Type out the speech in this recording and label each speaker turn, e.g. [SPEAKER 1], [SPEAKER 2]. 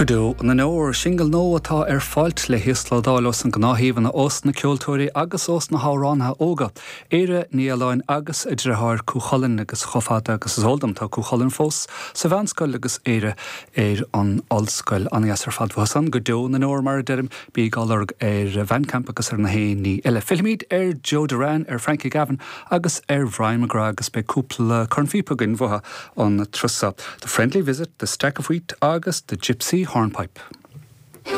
[SPEAKER 1] Go deo na ndeor, Singil nua atá ar fáilt le híoslódáil ós na gnáthshuíomhanna ós na ceoltóirí agus ós na hamhránaithe óga, Éire Ní Fhaoláin agus a deartháir Cú Chulainn agus chomh fada agus is eol dom tá Cú Chulainn fós sa mheánscoil agus Éire ar an ollscoil. An-dheas ar fad uathu san. Go deo na ndeor mar a deirim, bíg á lorg ar Bhandcamp agus ar na haon ní eile. Fillfimid ar Joe Derrane, ar Frankie Gavin agus ar Bhrian MacGrath agus beidh cúpla cornphíopa againn uathu an turas seo, The Friendly Visit, The Stack of Wheat agus The Gypsy Hornpipe.